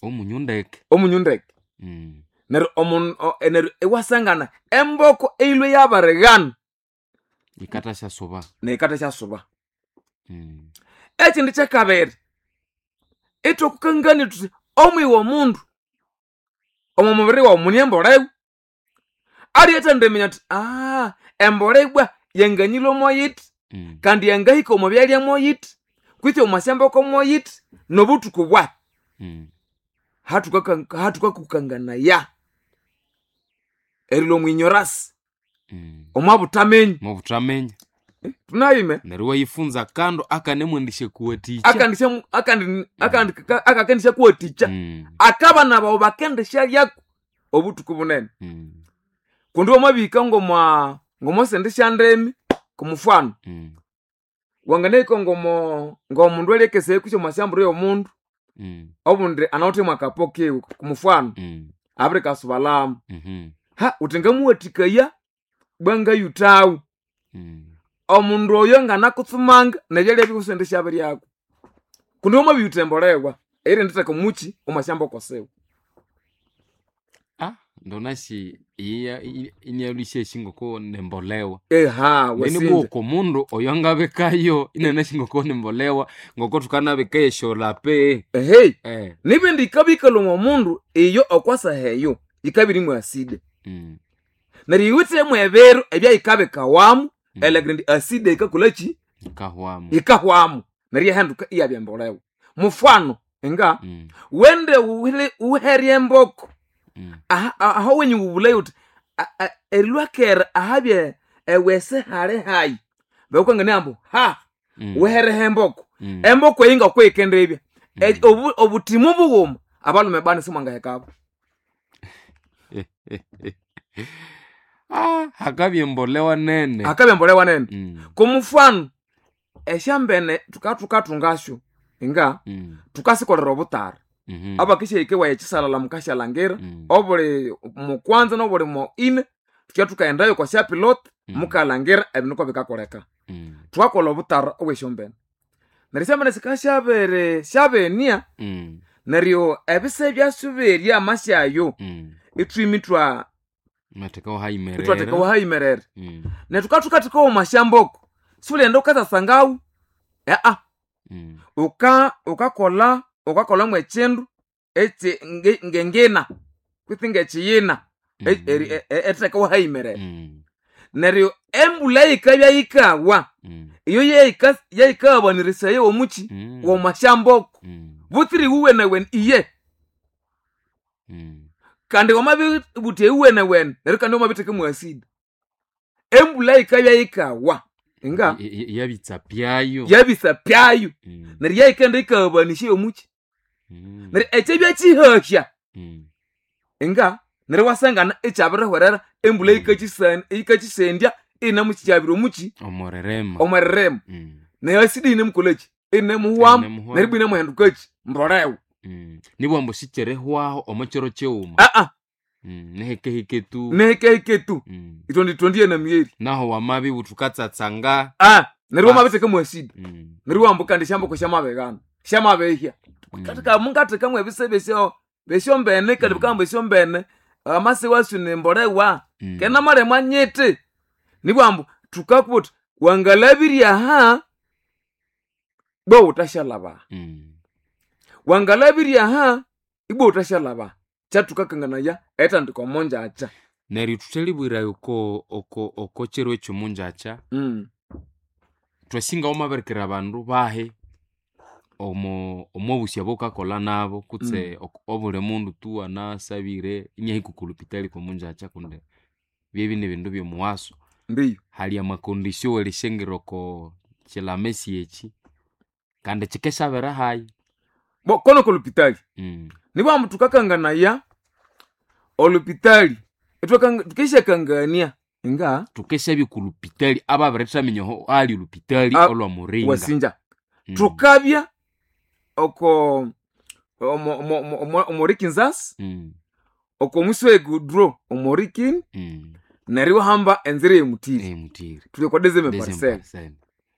Omunyu ndeke. Omunyu ndeke. Neryo neryo iwasangana emboko eilwe yabirighana. Yikathasya-suba. Neyikathasya-suba. Ekindi kyakabiri, ithwakukangania thuthi omwiyi w'omundu omo mubiri wawu mune embolewa. Aliyathendiminya athi embolea ibwa yanganyilhwa moyithi kandi yangahika omo byalya moyithi kwitsi omo syamboko moyithi nobuthuku bwahi. Hathukakukanganaya erilhwa omwinyorasi omwabuthaminya. Mwabuthaminya. Tunayime. Neryo iwayifunza akandu akanemwendisyakuwathikya. Akakendisyakuwathikya. Akabana bawu bakendisyalyako obuthuku bunene. Kundi wamabihika ngomwa ngomosindi syandimi kumufano. Wanganahika ngomo ngomundu alyakesaya kwisi omwasyamburu y'omundu obundi anawithe mwakapo kiwe kumufano abirikasubalhamu. Ha wuthi ngamuwathikaya bwangayuthawu. Omundu oyo nganakutsumanga nebyalya biwe isindisyabiryako. Kundi wamabiyutha embolewa eyirinditheka omuchi omwasyamboko siwe. Ndonasi iya inyalusya ngoko nembolewa. Eha Neni wasinja. bwoko mundu oyo angabikayo inanasi ngoko nembolewa ngoko thukanabika esyolape. Ehe. Nibindi yikabikalha omo mundu iyo okwasaha eyo yikabya irimu acid. Neryo yiwithemu ebiro ebyayikabikawamu elhangira indi acid yikakolhaki? Yikahwamu. Yikahwamu. Neryo iyahinduka iyabya embolewa. Mufano nga wende wuherye emboko aho wenyu wubulayo wuthi erilhwakera ahabye ewese hali hayi bakukangania ambu ha wuhereho emboko. Emboko eyi ngokuyikendibya obuthimu bughuma abalhume bani simwangahekabo. Hakabya embolewa nene. Hakabya embolewa nene. Kumufano esyambene thukathungasyo nga thukasikolera obutara. Abakisyahika ewaya ekisalala mukasyalangira obuli mukwanza nobuli mo ine thukya thukaghendayo okwa syapilot mukalhangira ebindu ngokubikakoleka. Thukakolha obutara obwesyombene. Neryo esyombene sikasyabiri syabenia neryo ebise byasyo berya amasyayo ithwima ithwa ithwathekawo ahayimerere. Neryo thukabya thukathekawo omwasyamboko siwulighenda wukatsasangawo wukakolha mwekyindu ekyi ngengina kwitsi ngekiyina erithekawo ahayimerere. Neryo embulha yikabya yikawa iyo yeyikaghabanirisaye omuchi womwasyamboko butsira iwuwenewene iye. Kandi wamabibutha iwuwenewene neryo kandi wamabitheka mwa acid. Embulha yikabya yikawa nga Yabitsa pyayo. Yabitsa pyayo. Neryo yayikaghenda yikaghabanisya omuchi. Neryo ekyabya kyihahya nga neryo iwasangana ikyabirihwerera embulha yikakyisendya iyinemukyabira omuchi Omweririma. Omweririma. Neryo acid iyinemukolhaki? Iyinemuhwamu neryo ibwa inemuhindukaki? Mbolewa. Nibughambu ambu sikyerihwaho omo kyiro kyighuma. Nihikehike tu. Nihikehike tu. Ithondithondiye nemigheri. Naho wamabibugha thukatsatsanga. Neryo wamabitheka mwa acid. Neryo iwambu kandi esyamboko syamabighana. Syamabihya. Mungathekamu ebise besyombene kandi bukahamba esyombene amasi wasyo nembolewa. Kena nyiti. Nibughambu ambu thukakubugha thuthi wangalhabirya aha ibwa wuthasyalhaba aha. Wangalhabirya aha ibwa wuthasyalhaba aha. Kyathukakanganaya erithandika omongyakya. Neryo thuthalibwira oko oko oko kyiro ekyomongyakya thwasinga wamabirikira abandu bahi omo omobusi obukakolha nabo kutse obuli mundu tu anasabire inahika okolupitali kwomongyakya kundi byebya nibindu byomuwaso. Ndiyo. Hali amakondisio werisyangira oko kyilamesi ekyi kandi kyikesyabera hayi. Bo kono kolupitali. Nibughambu thukakanganaya olupitali thukisyakangania nga Thukesyabya okolupitali ababirithaminya aho ahali olupitali olwa Muringa. Wasinja. Thukabya oko omorikinzasi oko mwisi wegudro omorikini neryo iwahamba enzira eyemutiri. Eyemutiri. Thuli okwa deuxième Deuxième parcelle. parcelle.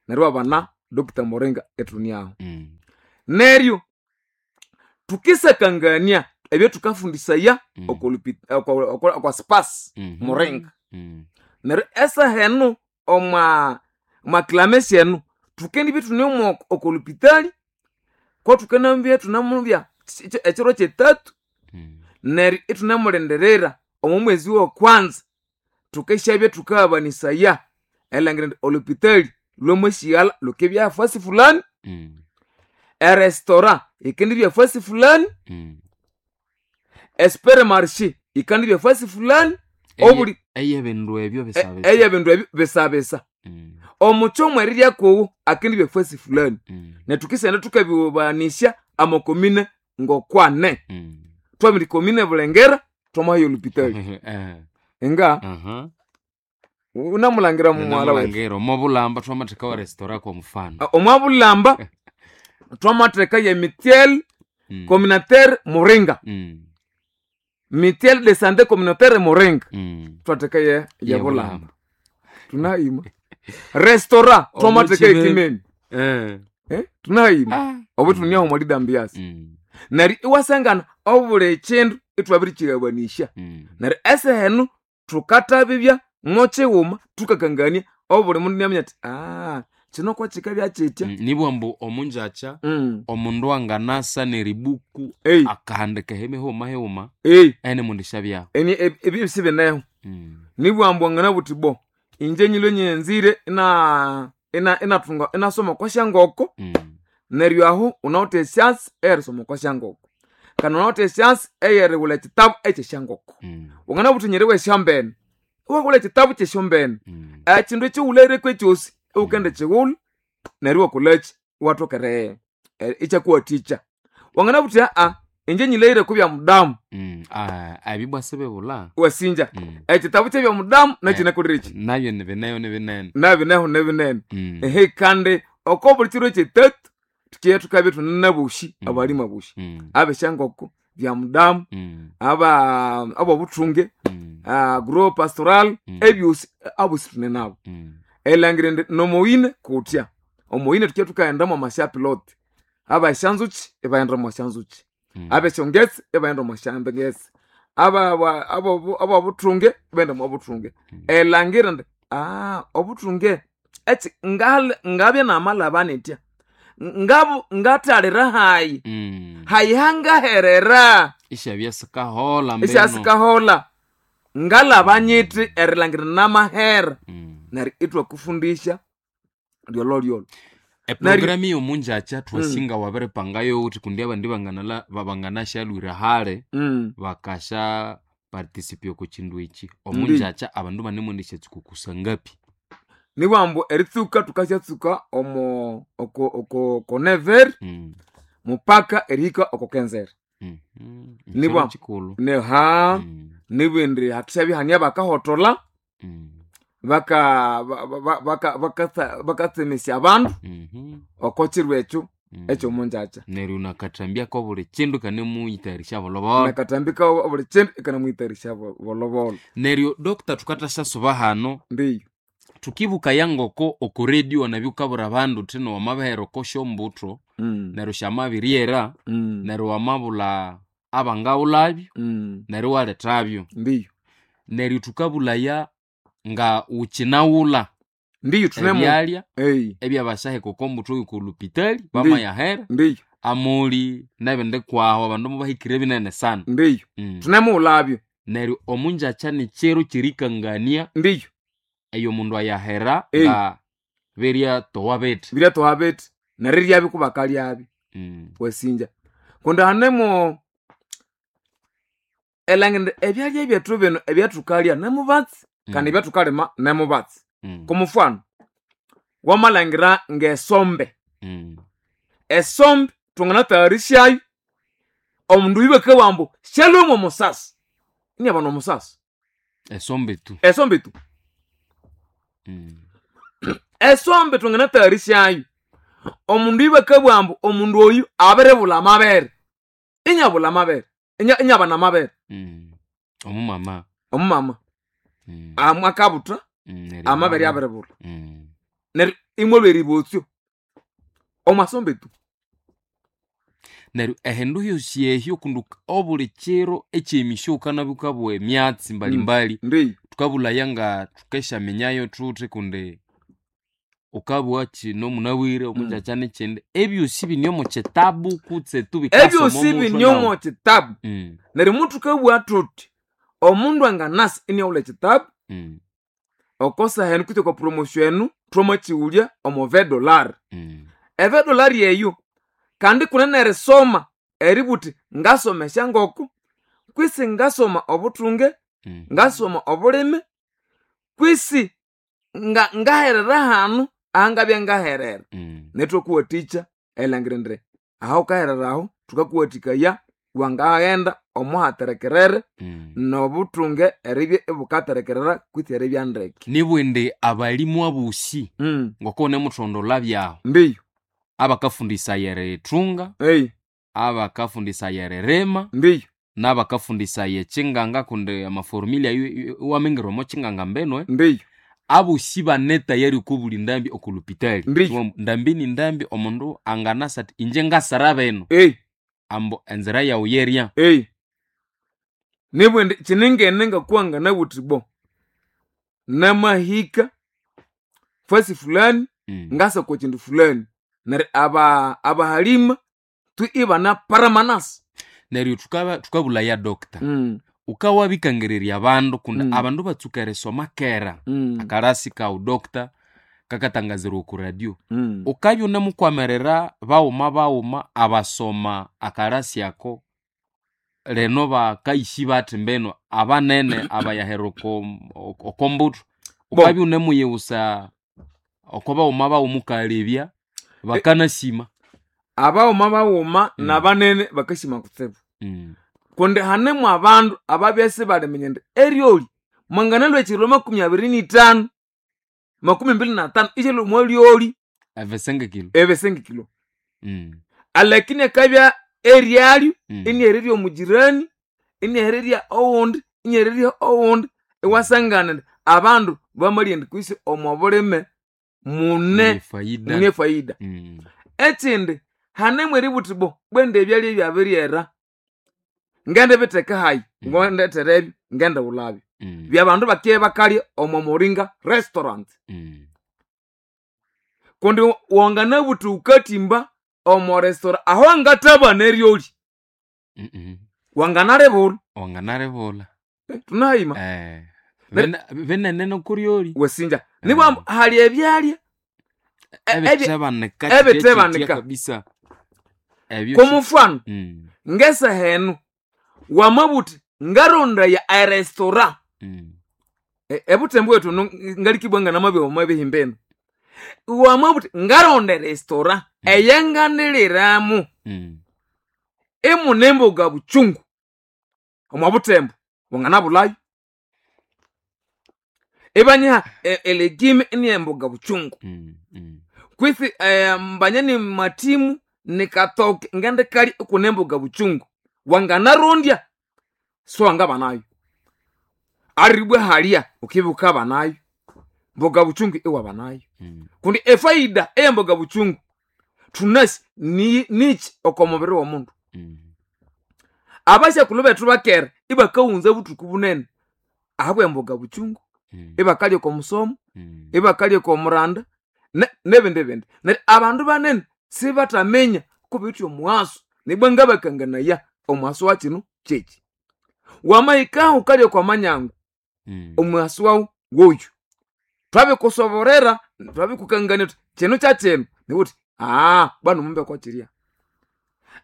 Neryo iwabana Dr. Muringa ithuniaho. Neryo Tukisakangania ebyo tukafundisaya okwa spas muringa. Neryo esahenu omwa clamesi enu tukendibya ithune okolupitali ko tukanabya thunamubya ekiro kyetatu. Neryo ithunamulindirira omo mwezi wokwanza tukesyabya thukahabanisaya erilhangira indi olupitali lwamasighalha lukibya afasi fulani. Erestora yikendibya afasi fulani. Espermarshe yikandibya afasi fulani. Obuli eyebindu ebyo bisabisa. Eyebindu ebyo bisabisa. Omuchomo eriryakowo akendibya afasi fulani. Netukisenda tukabibanisya amakomine ngokwane. Twabiri komine Bulengera twamahayo olupitali. Nga unamulangira mumwala wetu. Namulangira omwabulamba twamatheka wa restaurant kwa mfano. Omwabulamba twamatheka ye mitiel communautaire Muringa. Mitiel de santé communautaire Muringa. Twatheka ye Bulamba. Tunayima. Restaurant twamatheka ekimeni. Tunayima. Obo tuniaho mwalidambiasi. Neryo iwasangana obuli ekindu ithwabirikigabanisya. Neryo esehenu thukathabibya mokighuma thukakangania obuli mundu inaminya athi kino kwakikabya kitya. Nibugha ambu omunjakya omundu anganasa neribuku akahandika emihuma highuma enemundu isyabyaho. Ebyo sibineho. Nibugha ambu wanganabugha uthi bo inje nyilwe nyanzire inathunga inasoma okwa syangoko. Neryo aho unawithe esyansi eyerisoma okwa syangoko. Kandi unawithe esyansi eyerighulha ekitabu ekyesyangoko. Wanganabugha uthi nyiriwa esyombene, iwaghulha ekitabu kyesyombene. Ekindu ekighulhaireko ekyosi iwukendikighulha neryo iwakolhaki iwathoka ikyakuwathikya. Wanganabugha uthi inje nyilhaghire okwa byamudamu. Ebyo sibibulha. Wasinja. Ekitabu kyebyamudamu nakyinakolireki. Nabyo nibineho nibinene. Nabineho nibinene. Ehe kandi oko buli kiro kyetatu tukiye tukabya ithune nabosi abalimu abosi. Abesyangoko, byamudamu, abobuthunge, group pastoral, ebyosi abosi thune nabo. Erilhangira indi nomoyine kutya. Omoyine tukiye thukaghenda mwamasya-pilot. Abesyanzuki ibaghenda omwasyanzuki. Abesyongesi ibaghenda omwasyangesi. Abobuthunge ibaghenda omwabuthunge. Erilhangira indi obuthunge eki ngabya namalhaba nitya. Ngathalira hayi. Hayi hangaherera. Isyabya sikaholha mbinu. Isyasikaholha. Ngalhaba nyithi erilhangira namahera. Neryo ithwakufundisya lyolholyolho. Eprogramu yomunjakya twasinga wabiripangayo wuthi kundi abandi banganashalwira hali bakasha participate oko kindu eki. Omunjakya abandu banemwendesya kusangapi. Nibugha ambu eritsuka thukasyatsuka omo oko neveri mupaka erihika oko kenzere. Nibugha kikulhu. Nibugha indi hathashabya hane abakahotholha bakatsemesya abandu oko kiro ekyo ekyomunjakya. Neryo nakathambya kobuli kindu ikanemuyithayarisya bolhobolho. Nakathambika obuli kindu ikanemuyithayarisya bolhobolho. Neryo doctor thukathasya hano. Ndiyo. Tukibukaya ngoko oko radio nabyo ukabwira abandu uthi wamabihera oko syombutho neryo syamabiryera neryo wamabulha abangaghulhabyo neryo iwalethabyo. Ndiyo. Neryo thukabulhaya nga wukyinaghulha Ndiyo thunemu ebyalya ebyabasaheka oko mbutho yokolupitali bamayahera. Ndiyo. Amuli nebindi kwahu abandu mubahikire binene sana. Ndiyo. Thunemughulhabyo. Neryo omunjakya nikyiro kyerikangania. Ndiyo. Eyo omundu ayahera nga biryatowa bithi. Biryatowa bithi neriryabi kubakalyabi. Wasinja. Kundi hanemo erilhangira ebyalya byethu bino ebyathukalya nemubatsi kandi ebyathukalima nemubatsi. Kumufano wamalhangira ngesombe. Esombe thwanganathayarisyayo omundu oyu bakabugha ambu syalhwemu omusasi. Inabana omusasi. Esombe tu. Esombe tu. Esombe thwanganathayarisyayo omundu oyu bakabugha ambu omundu oyu abiribulha amabere. Inyabulha amabere. Inyabana amabere. Omumama. Omumama. Akabutha amabere abiribulha. Neryo imwalhwa eribotsyo omwasombe tu. Neryo ehindu hyosi ehyo kundi obuli kiro ekyemisyo wukanabya wukabugha emyatsi mbalimbali. Ndiyo. Tukabulaya nga thukesyaminyayo thuthi kundi ukabugha kino munabwire omunjakya nekyindi, ebyosi bine omo kitabu kutse tu bikasoma Ebyosi omuthwe bine nawu. omo kitabu. Neryo muthukabugha thuthi omundu anganasa iniaghulha ekitabu okosaha enu kutse okwa promotion enu thwamakighulya omo $20. $20 eyo kandi kunene erisoma eributhi ngasoma esyangoko kwisi ngasoma obuthunge, ngasoma obulimi kwisi ngaherera hanu ahangabya ngaherera. Nethu thwakuwathikya erilhangira indi aha wukaherera aho thukakuwathikaya wangaghenda omuhaterekerere nobuthunge eribya ibukaterekerera kwitsi eribya ndeke. Nibwindi abalimu abosi ngoko wunemuthondolha byahu Ndiyo. abakafundisaya erithunga, Eyi. abakafundisaya eririma, Ndiyo. n'abakafundisaya ekyinganga kundi amaformula ayo iwamingira omo kyinganga mbinu. Ndiyo. Abosi bane tayari okwa buli ndambi okwa lupitali. Ndiyo. Ndambi ni ndambi omundu anganasa athi inje ngasara bino Eyi. ambu enzira yawu yerya. Eyi. Nibwindi kyiningene ngakuwa nganabuthi bo namahika fasi fulani ngasa kwa kindu fulani neryo abahalima tu ibana paramanasa. Neryo thukabulaya doctor. Wukawabikangirirya abandu kundi abandu batsuka erisoma kera akarasi kawu doctor kakatangazirwa oku radio. Wukabya wunemukwamirira baghuma baghuma abasoma akarasi ako lino bakayisi bathi mbinu abanene abayahera oko mbuthu. Wukabya wunemuyiwusa oko baghuma baghuma wukalebya bakanasima. Abaghuma baghuma nabanene bakasima kutsibu. Kundi hanemu abandu ababya isibaliminya indi eryolya mwanganalhwa ekiro 25 25 isyalhwa omwa lyolyi Ebisengekilo. ebisengekilo. Alakini akabya eryalyo iniahererya omugirani, iniahererya owundi, iniahererya owundi, iwasangana indi abandu bamalya indi kwisi omo bulime mune Faida. mune faida. Ekindi hanemu eributhi bo bwende ebyalya ebyabiryera ngendibitheka hayi ngondetherebyo ngendighulabyo. Byabandu bakye bakalya omo Moringa restaurant. Kundi wanganabuthi wukathimba omo restaurant aho angathabana eryolya wanganalibulha. Wanganalibulha. Thunahayima. Binene nokuryolya. Wasinja. Nibwa hali ebyalya Ebithebanika ebitebanika. kabisa. Ebyo Komufano ngesaha enu wamabuthi ngarondaya erestaurant ebuthembu bwethu ngalikibwa nganamabya omo bihimbenu. Wamabuthi ngaronda erestaurant eyanganiliramu imune emboga buchungu omwa buthembu wanganabulhayo. Ibanyiha elegime ini emboga buchungu. Kwisi mbanya ni matimu nikatoke ngendikalya ikune emboga buchungu wanganarondya so wangabanayo. Aribwa halya ukibya wukabanayo mboga buchungu iwabanayo. Kundi efaida eyemboga buchungu thunasi niki oko mubiri w'omundu. Abasyakulhu bethu bakera ibakawunza buthuku bunene ahabwa emboga buchungu, ibakalya oko musomo, ibakalya oko muranda nebindi bindi. Neryo abandu banene sibathaminya kubiwithe omughaso nibwa ngabakanganaya omughaso wa kino kyeki. Wamahikaho wukalya okwa manyangu omughaso wawu woyu. Thwabikusoborera thwabikukangania thuthi kino kyakyino niwuthi bwanu mumbe okwa kirya.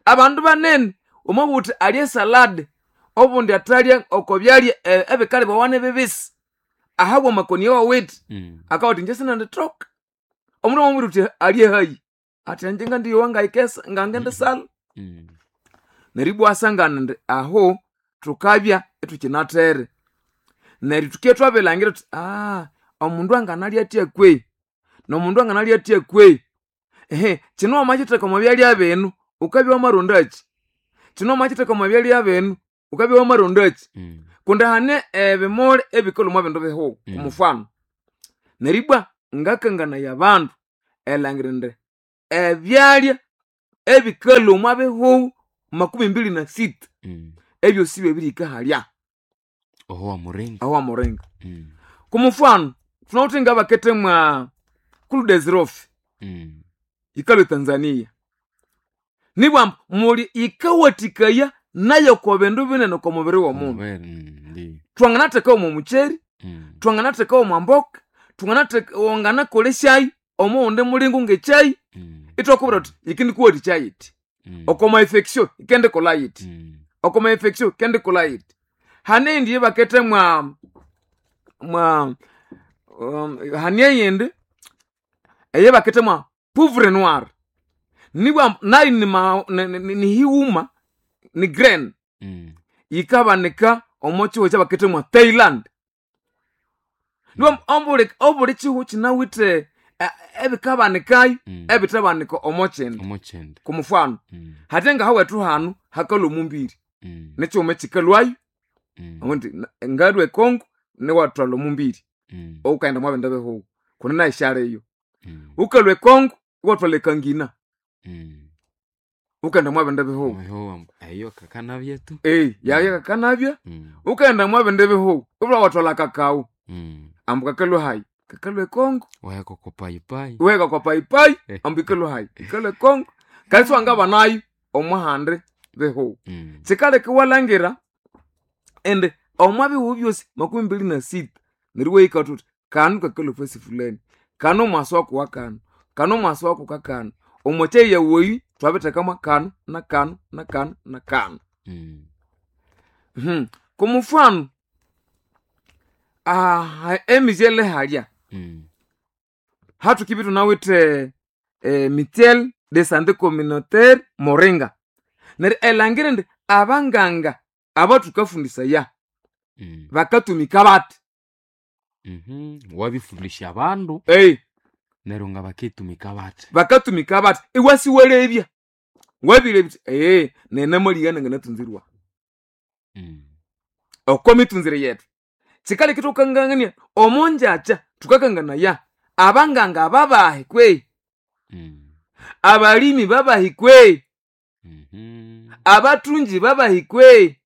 Abandu banene wamabugha wuthi alye esalad obundi athalya oko byalya ebikalhibawa nibibisi ahabwa amakoni awawithe akabugha athi inje sinendithoka. Omundu wamamubwira wuthi alye hayi athi inje ngandiyowa ngayikesa ngangendisalha. Neryo ibwa iwasangana indi aho thukabya ithukinathere. Neryo thukibya thwabirilhangira thuthi omundu anganalya athya kwehi nomundu anganalya athya kwehi. Ehe kino wamakyitheka omo byalya binu wukabya wamarondakyi? Kino wamakyitheka omo byalya binu wukabya wamarondakyi? Kundi hane ebimuli ebikalhwa omwa bindu bihugho omufano. Neryo ibwa ngakanganaya abandu erilhangira indi ebyalya ebikalhwa omwa bihugho. 26 ebyosi byebirihika halya oho wamuringa. Aho wamuringa. Kumufano tunawithe ngabakete mwa kuludezirofi yikalwa Tanzania, nibwamba muli yikawathikaya nayo ko bindu binene oko mubiri w'omundu. Ndi. Twanganathekawo omo mukyeri, twanganathekawo omwa mboka, wanganakolesyayo omuwundi mulingo ngekyayi, itwakubwira thuthi yikindikuwathikya yiti. Oko ma infection yikendikolha yiti, oko ma infection yikendikolha yiti. Hane eyindi eyabakethe mwa mwa hane eyindi eyabakethe mwa poivre noir, nibwa nayo nihighuma ni grain, yikabanika omo kihugho ekyabakethe mwa Thailand. Nibwa obuli kihugho kinawithe ebikabanikayo ebithabanika omo kindi. Omo kindi. Kumufano, hatya ngahawethu hanu hakalhwa omumbiri, nikighuma ekikalhwayo, omundi ngalhwa ekongo niwathwalha omumbiri, ghukaghenda omwa bindi bihugho kundi nayo isyaliyo. Ghukalhwa ekongo iwathwalha ekangina, ghukaghenda omwa bindi bihugho. Eyo kakanabya tu. Yayo kakanabya, ghukaghenda omwa bindi bihugho ibulha iwathwalha kakao, ambu kakalhwa hayi? Kakalhwa ekongo. Waheka oko payipayi. Iwaheka okwa payipayi ambu yikalhwa hayi? Yikalhwa ekongo. Kandi siwangabanayo omwahandi bihugho. Kyikaleka iwalhangira indi omwa bihugho byosi 26 neryo iwahika thuthi kanu kakalhwa efasi fulani, kanu omwasi waku kanu, kanu omwasi waku kakanu, omwa kyayi yawu eyi thwabithekamu kanu na kanu na kanu na kanu. Kumufano, emizyele halya hathukibya ithunawithe mutuelle de sante communautaire Moringa. Neryo erilhangira indi abanganga abathukafundisaya bakatumika bathi. Wabifundisya abandu neryo nga bakitumika bathi. Bakatumika bathi, iwasiwalebya, wabirebya wuthi nayi namalighana nanganatunzirwa. Okwa mitunzire yethu kyikaleka ithwakangania omongyakya thukakanganaya abanganga babahi kwehi, abalimi babahi kwehi, abathungi babahi kwehi,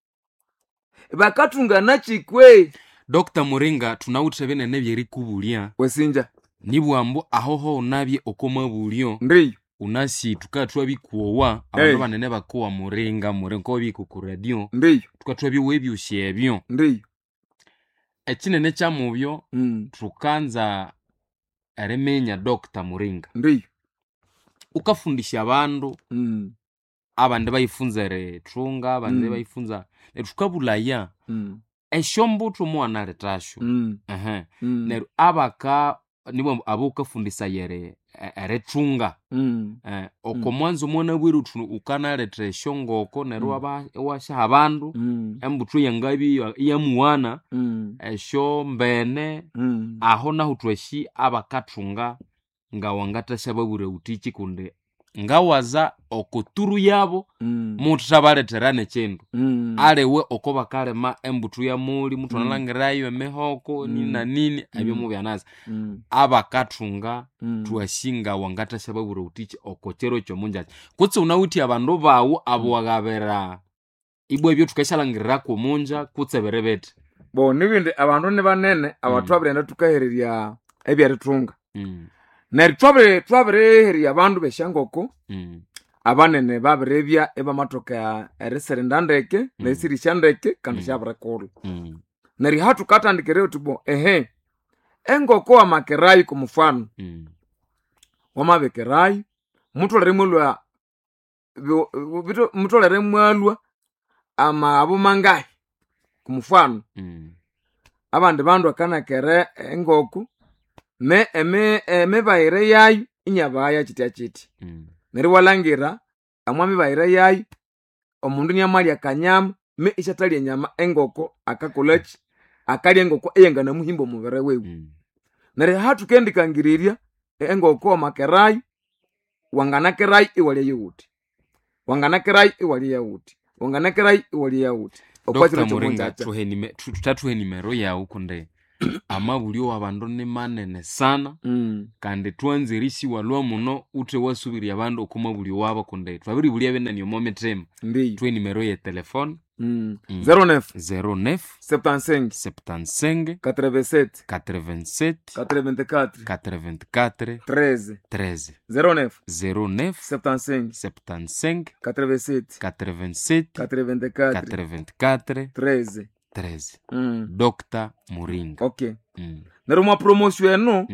bakathunganakyi kwehi. Dr Muringa, thunawithe binene ebyerikubulya. Wasinja. Nibwambu ahoho wunabye oko mabulyo, Ndiyo. wunasi thukabya thwabikowa, abandu banene bakowa Muringa, Muringa wabihika oku radio, Ndiyo. thukabya thwabyowa ebyosi ebyo. Ndiyo. Ekinene kyamubyo, thukanza eriminya Dr Muringa. Ndiyo. Wukafundisya abandu, abandi bayifunza erithunga, abandi bayifunza, neryo thukabulaya esyombuthu muwanalethasyo. Neryo abaka nibwambu abawukafundisaya erithunga, oko mwanzo mwanabwire wuthi wukanaletha esyongoko neryo iwasyaha abandu embuthu eyangabya iyamuwana, esyombene, aho nahu thwasi abakathunga ngawangathasyababwira wuthiki kundi ngawaza oko turu yabo muwuthethabalethera nekyindu. Aliwe oko bakalima embuthu yamoli, muthwanalhangirayo emihoko nini na nini, ebyo mubyanasa. Abakathunga thwasi ngawangathasyababwira wuthiki oko kyiro kyomungyakya. Kutse wunawithe abandu bawu abuwaghabira ibwa ebyo thukasyalhangiriraku omunja kutse biri bithi. Bo nibindi abandu nibanene abathwabirighenda thukahererya ebyerithunga. Neryo twabirihererya abandu besyangoko, abanene babiribya ibamathoka erisirinda ndeke, nerisirisya ndeke kandi syabirikulha. Neryo hathukathandikirayo thuthi bo engoko wamakerayo kumufano, wamabikirayo, mutholere imwalhwa mutholere imwalhwa amaghabu mangahi kumufano. Abandi bandu bakanakera engoko emibayire yayo inyabaghaya kyityakyitya. Neryo iwalhangira omwa mibayire yayo omundu iniamalya akanyama me isyathalya enyama engoko akakolhaki? Akalya engoko eyanganamuhimba omubiri wiwe. Neryo hathukendikangirerya engoko wamakerayo, wanganakerayo iwalya yawuthi, wanganakerayo iwalya yawuthi, wanganakerayo iwalya yawuthi. Dr Muringa, thuthathuhe enimero yawu kundi Amabulyo w'abandu ni manene sana kandi twanzire isiwalwa muno uthe wasubirya abandu oko mabulyo wabo kundi twabiribulya binene omo mithima. Ndiyo. Thwe nimero ye telefone 09 09 75 75 87 87 84 84 13 13 09 09 75 75 87 87 84 84 13. 13. Dr. Muringa. Okay. Neryo mwa promotion eno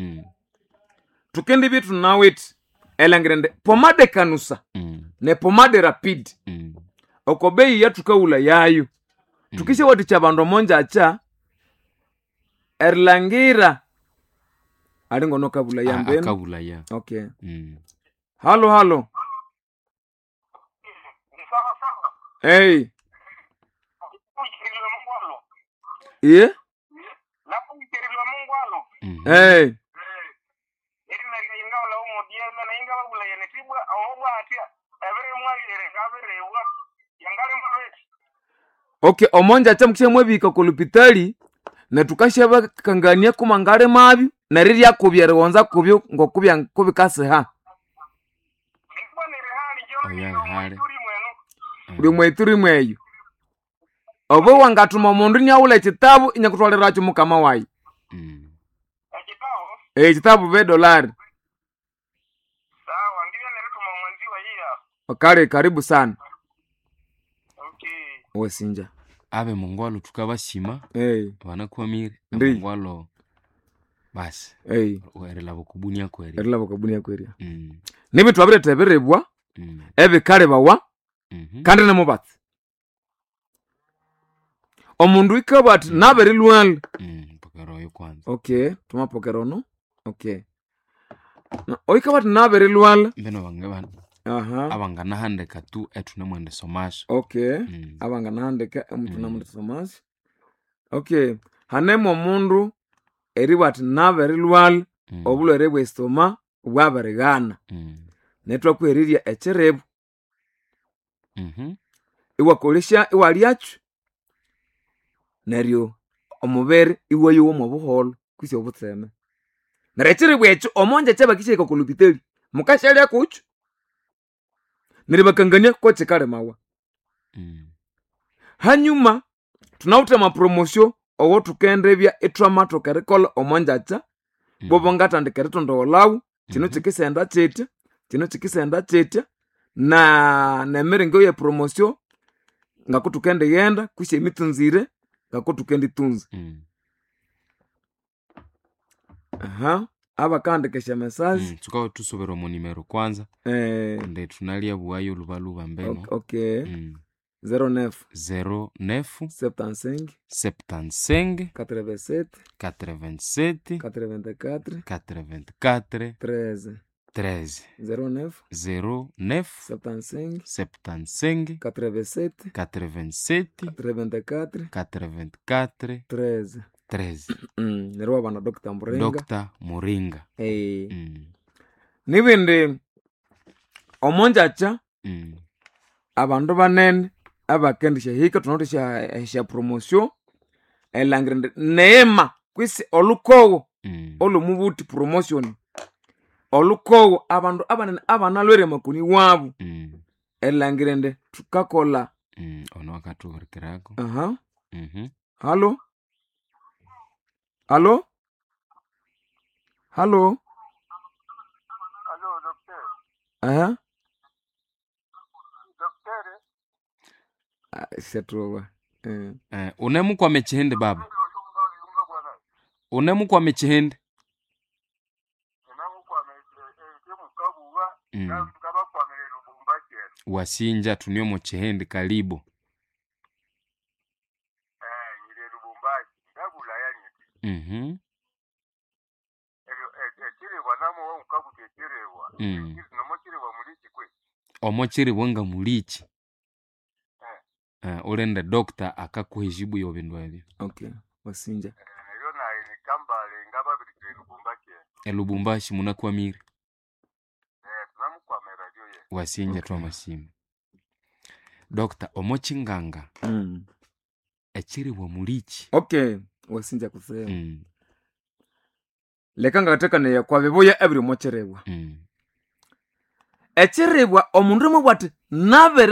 tukende bitu nawiti elangirende pomade kanusa ne pomade rapid oko bei yatukawula yayo tukisha watikya bandu omonjacha erilangira alingono kabula yambeni. Akabula ya. Okay. Halo halo. Hey. Iye? Hey. Okay, omonja cha mukisha mwebika kolupitali netukasha bakangania kumangale mabyo nerirya kubya eriwonza kubyo ngokubya kubikasiha. Uli mweturi mweyo. Obo wangatuma omundu niawula ekitabu inyakutwalirakyo mukama wayi. Ekitabu be dolari. Kale karibu sana. Wesinja. Abe mungwalo tukabashima. Hey. Banakwamire. Ndi. Mungwalo basi. Hey. Erilaba kubunia kweri. Erilaba kubunia kweri. Nibi twabiretha ebiribwa ebikalibawa kandi nemubatsi. Omundu ikabwa ati nabirilwala. Pokera oyo kwanza. Okay, tumapokera ono. Okay. Na oikabwa ati nabirilwala. Mbeno bange bana. Aha. Abanganahandika tu etunemwende somasho. Okay. Abanganahandika emutunemwende somasho. Okay. Hanemo omundu eribwa ati nabirilwala obulwere bw'esitoma bwabirighana. Netwakwerirya ekiribu. Iwakolesya iwalyakyo neryo omubiri iwayowa omo buholo kwisi obutseme. Neryo ekiribu ekyo omonja kyabakisya okolupitali mukashalya kukyo neryo bakangania kokikalimawa. Hanyuma tunawithe amapromosio owo thukendibya ithwamathoka erikolha omonjakya bobo ngathandika eritondowolawo kino kikisenda kyitya kino kikisenda kyitya na nemiringo ye promosio ngakuthukendighenda kwisi emitsunzire ngakuthukenditunza. Aha, abakahandika esya message. Thukawa thusubira omo nimero kwanza. Kundi thunalya buwayo lubaluba mbeno. Okay. 09 09 75 75 87 87 84 84 13 13 09 09 75 75 87 87 84 84 13. 13. Neryo wabana Dr. Muringa. Dr. Muringa. Hey. Nibindi omonjacha abandu banene abakendisha hika tunawithe esya promotion erilhangira indi neema kwisi olukogo olwomubuthi promotion olukogo abandu abanene abanalwere amakoni wabu erilhangira indi thukakolha. Ono akathuhurikirako. Aha. Halo? Halo? Halo? Halo, docteur. Aha. Docteur. Siyathuba. Unemukwama ekihindi baba? Unemukwama ekihindi? Wasinja tunio mu kihindi kalibu. Omo kiribwa nga mulichi. Ulende doctor akakuha ejibu y'ebindu ebyo. Okay, wasinja. Elubumbashi munakwamire. Wasinja okay. Twamasima. Doctor omo kinganga. Ekiribwa mulichi. Okay, wasinja kusema. Leka ngathekanaya kwa bibuya ebiri omo kiribwa. Ekiribwa omundu mwabwa athi nabere.